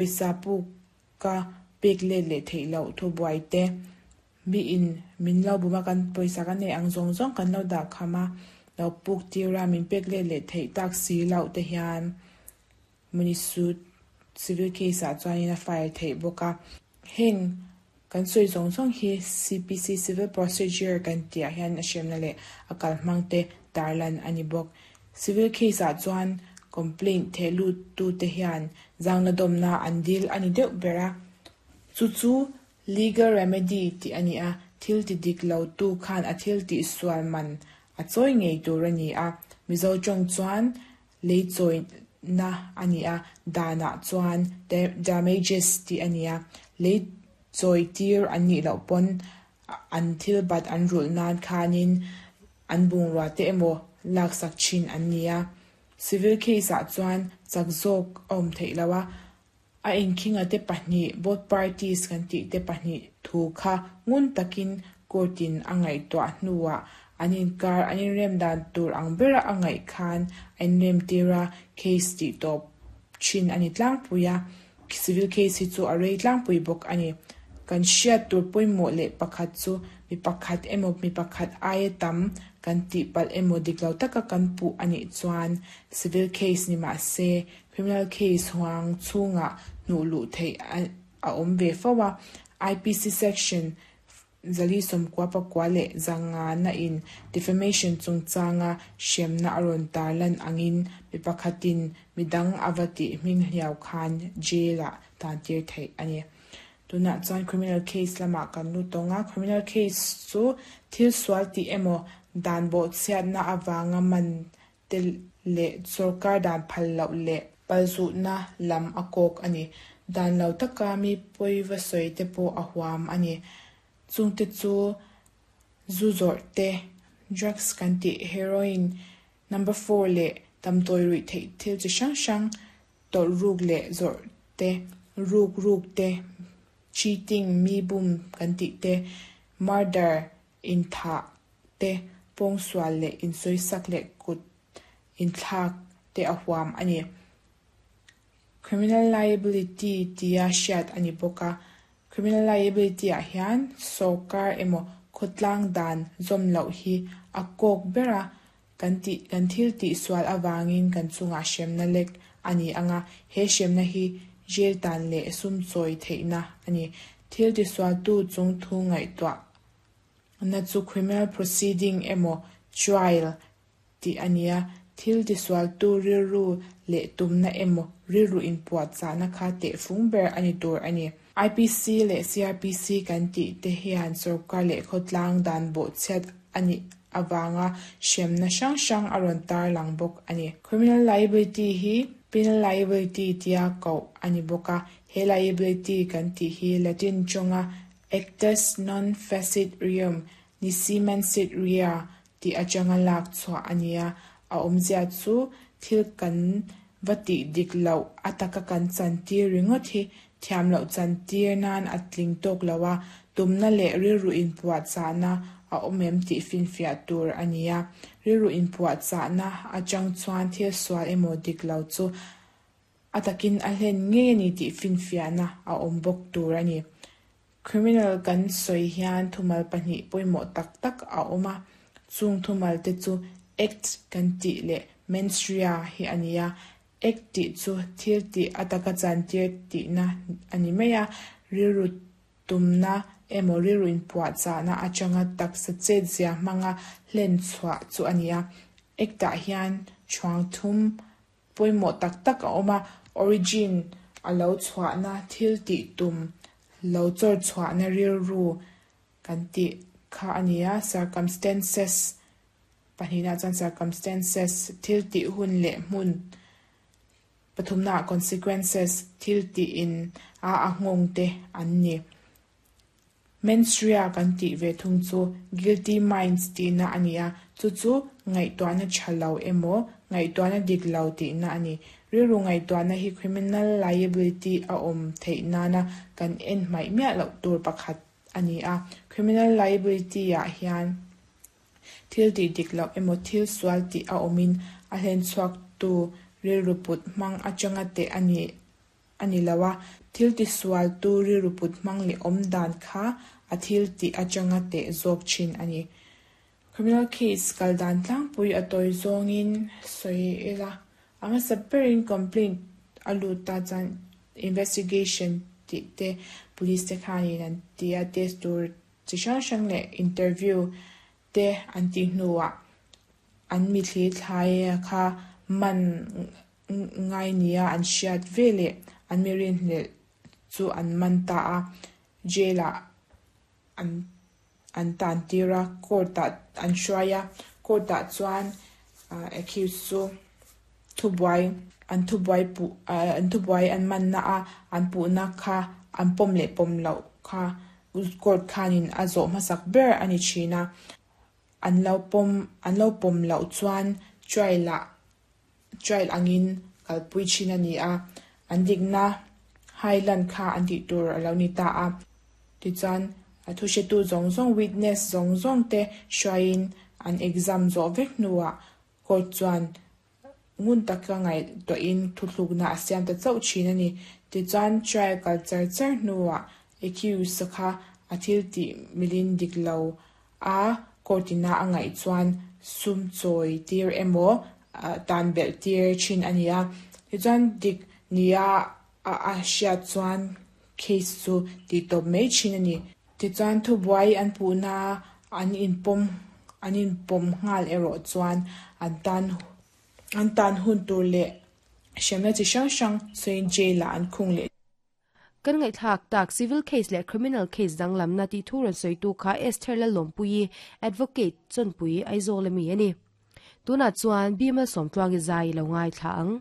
Pawisa puka pek let leh theih loh thubuai te, miin min lo bum a, kan pawisa kan neih ang zawng zawng kan lo dah kham a, lo puk tir a, min pek let leh theih tak si loh te hian money suit civil case ah chuanin a file theih bawk a. Heng kan sawi zawng zawng hi CPC Civil Procedure kan tih ah hian a hremna leh a kalhmang te tarlan a ni bawk. Civil case ah chuan complaint theh lut tute hian zangna dawmna an dil a ni deuh ber a, chu chu legal remedy tih a ni a, thil ti dik lo tu khan a thil tih sual man a chawi ngei tur a ni a, Mizo tawng chuan lei chawina a ni a, danah chuan damages tih a ni a, lei chawi tir an nih loh pawn an thil bat an rulh nan khanin an bungrua te emaw laksak thin an ni a. Civil case ah chuan chak zawk a awm theih lo a, a inkhinga te pahnih, both parties kan tih te pahnih thu kha ngun takin court in a ngaihtuah hnuah an inkar an inrem dan tur ang bera a ngaih khan a inrem tir a, case tih tawp thin a ni tlangpui a. Civil case hi chu a rei tlangpui bawk a ni. Kan hriat tur pawimawh leh pakhat chu mi pakhat emaw mi pakhat aia tam kan tih palh emaw dik lo taka kan puh a nih chuan civil case ni mah se criminal case huang chhungah hnuh luh theih a awm ve fo a. IPC section Zali sawmkua pakua leh zangana in defamation chungchanga hremna a rawn tarlan angin mi pakhatin midang a va tih hming hliau khan jail ah tantir theih a ni. Tunah chuan criminal case lamah kan lut tawng a, criminal case chu thil sual tih emaw dan bawhchhiatna avanga man te leh sorkar dan phal loh leh palzutna lam a kawk a ni. Dan lo taka mi pawi va sawi te pawh a huam a ni. Chungte chu zu zawrh te, drugs kan tih heroin, number four leh damdawi ruih theih thil chi hrang hrang tawlh ruk leh zawrh te, ruk ruk te, cheating, mi bum kan tih te, murder, inthah te, pawngsual leh insawisak leh kut inthlak te a huam a ni. Criminal liability tia hriat a ni bawk a, criminal liability ah hian sawrkar emaw khawtlang dan zawm loh hi a kawk ber a, kan tih kan thil tih sual avangin kan chungah hremna lek a ni ang a, he hremna hi jail tan leh sum chawi theihna a ni. Thil tisualtu chung thu ngaihtuah na chu criminal proceeding emaw trial tih a ni a, thil tisualtu rilru leh tumna emaw rilru inpuahchahna kha tehfung ber a ni tur a ni. IPC leh CrPC kan tih te hian sorkar leh khawtlang dan bawhchhiat a nih avanga hremna hrang hrang a rawn tarlang bawk a ni. Criminal liability hi penal liability tia koh a ni bawk a, he liability kan tih hi Latin tawnga actus non facit reum nisi mansit rea tih atanga lak chhuah a ni a, a awmzia chu thil kan va tih dik loh a taka kan chantir ringawt hi thiam loh chantir nan a tling tawk lo a, tumna leh rilru inpuahchahna a awm em tih finfiah tur a ni a, rilru inpuahchahna atang chuan thil sual emaw dik lo chu a takin a hlen ngei a ni tih finfiahna a awm bawk tur a ni. Criminal kan sawi hian thumal pahnih pawimawh tak tak a awm a, chung thumal te chu act kan tih leh mens rea hi a ni a. Act tih chu thil tih a taka chantir tihna a ni mai a, rilru tumna emaw rilru inpuahchahna atanga taksa chetzia hmanga hlen chhuah chu a ni a. Act ah hian chhuang thum Pawimawh tak tak a awm a, origin a lo chhuahna thil tih tum lo chawr chhuahna rilru kan tih kha a ni a, circumstances pahnihna chuan circumstances thil tih hun leh hmun pathumna ah consequences thil tih in a a nghawng te an ni. Mens rea kan tih ve thung chu guilty minds tihna a ni a, chu chu ngaihtuahna tha lo emaw, ngaihtuahna dik lo tihna a ni. Rilru ngaihtuahna hi criminal liability a awm theih nana kan en hmaih miah loh tur pakhat a ni a. Criminal liability ah hian thil tih dik loh emaw thil sual tih a awmin a hlenchhuaktu rilru put hmang atanga teh a ni. a ni lo a, thil tisualtu rilru put hmang leh awm dan kha a thil tih atanga teh zawk thin a ni. Criminal case kal dan tlangpui a tawi zawngin sawi ila, a hmasa berin complaint a lut ta chuan investigation tih te police te khanin an ti a, test tur chi hrang hrang leh interview te an tih hnuah an mithli thlai kha man ngai nia an hriat ve leh an mi rinhlelh chu an man ta a, jail ah an an tan tir a, court ah an hruai a, court ah chuan accused chu thubuai an thubuai puh an thubuai an manna a an puhna kha an pawm leh pawm loh kha court khanin a zawh hmasak ber a ni thin a, an lo pawm an lo pawm loh chuan trial ah trial angin kalpui thin a ni a, an dikna hai lan kha an tih tur a lo ni ta a. Tichuan a thuhretu zawng zawng witness zawng zawng te hruaiin an exam zawh vek hnuah court chuan ngun taka ngaihtuahin thuthlukna a siam ta chauh thin a ni. Tichuan trial kal char char hnuah accused kha a thil tih milin dik lo a court ina a ngaih chuan sum chawi tir emaw tan belh tir thin a ni a. Tichuan dik nia a a hriat chuan case chu tih tawp mai thin a ni. Tichuan thubuai an puhna an inpawm an inpawm nghal erawh chuan an tan an tan hun tur leh hremna chi hrang hrang sawiin jail ah an khung leh. Kan ngaihthlak tak civil case leh criminal case danglamna tih thu rawn sawitu kha Esther Lalawmpuii, Advocate, Chawnpui, Aizawl ami a ni. Tunah chuan Bimal Sawmtluangi zai i lo ngaithla ang.